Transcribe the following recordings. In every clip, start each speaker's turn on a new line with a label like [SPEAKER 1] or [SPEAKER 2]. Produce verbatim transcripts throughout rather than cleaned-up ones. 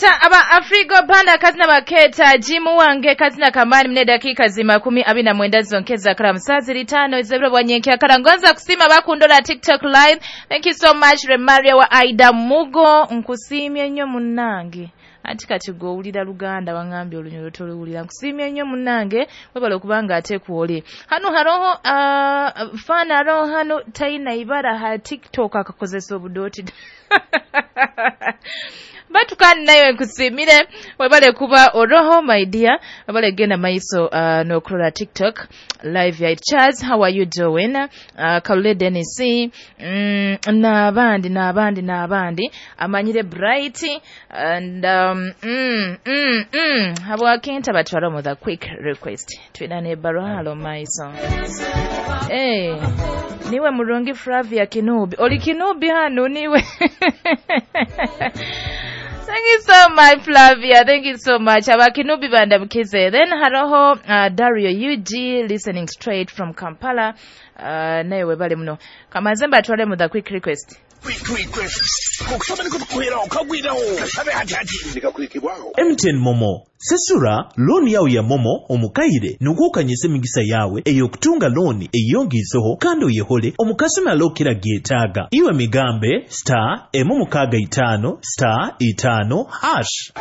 [SPEAKER 1] Baketa aba Afrigo Banda kazina baketa Jimu wange kazina kamani mne dakika zima kumi abiri na mwenda zonkeza kala musazi litano izebiro bwanyenke akala ngonza kusima bakundola TikTok live. Thank you so much Remaria wa Aida Mugo, nkusimye nnyo munnange. Anti kati gwe owulira Luganda wangambye Olunyoro toluwulira. Nkusiimye nnyo munnange, webale okubanga ate kwoli. Hano haroho uh, fan aroho hano taina ibara ha TikTok akakozesa obudooti. Batukani nayo nkusiimire, webale kuba oroho my dear, webale genda maiso uh, n'okulola TikTok live ya Charles, how are you doing? Uh, Kalule Dennis, mm, n'abandi n'abandi n'abandi amanyire Bright and um, mm, mm, mm. Habwakenta batwala mu the quick request twina ne barwalo maiso. Eh, niwe murungi Flavia Kinubi, oli Kinubi hano niwe. Thank you so much, Flavia. Thank you so much. Abakinubi banda mkize. Then haroho uh, Dario U G listening straight from Kampala. Uh, naye webale muno. Kamazemba atwale mu the quick request.
[SPEAKER 2] Quick request.
[SPEAKER 3] M T N Momo sesura looni yawe ya Momo omukaire nugukanyisa emigisa yawe ey'okutunga looni eyongizeho kandi oyehole omukasumi alokera gyetaaga iwe migambe star emu mukaaga itaano star itaano hash.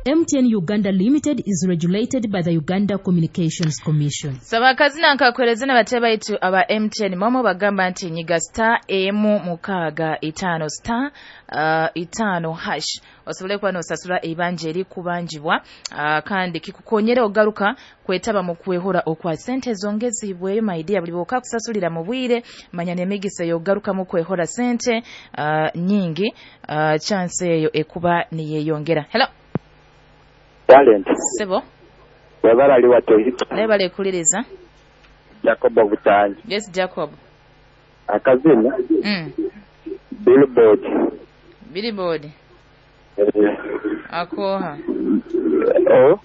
[SPEAKER 4] M T N Uganda Limited is regulated by the Uganda Communications Commission.
[SPEAKER 1] Sabakazina nkakweleza na bateba itu aba M T N Momo bagamba nti nyiga star emu mukaaga itaano star uh, itaano hash osobole kuba n'osasula ebanja erikubanjibwa uh, kandi kikukonyera ogaruka kwetaba mu kwehora okwa sente zongezibweyo my dear buli bwoka kusasulira mu bwire manya n'emigisa yogaruka mu kwehora sente uh, nyingi uh, chance eyo ekuba niyeyongera. Hello.
[SPEAKER 5] Talent.
[SPEAKER 1] Sebo.
[SPEAKER 5] Webala ali watohita.
[SPEAKER 1] Nebale kuliriza.
[SPEAKER 5] Jacob Butanyi.
[SPEAKER 1] Yes, Jacob.
[SPEAKER 5] Akazina.
[SPEAKER 1] Mm.
[SPEAKER 5] Billboard.
[SPEAKER 1] Billboard.
[SPEAKER 5] Eh.
[SPEAKER 1] Akoha.
[SPEAKER 5] Oh.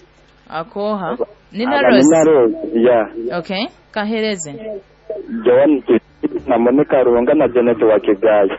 [SPEAKER 1] Akoha. Nina Rose.
[SPEAKER 5] Nina Rose, yeah.
[SPEAKER 1] Okay. Kahereze.
[SPEAKER 5] Joan na Monica Ruhanga na Janet wa Kigali.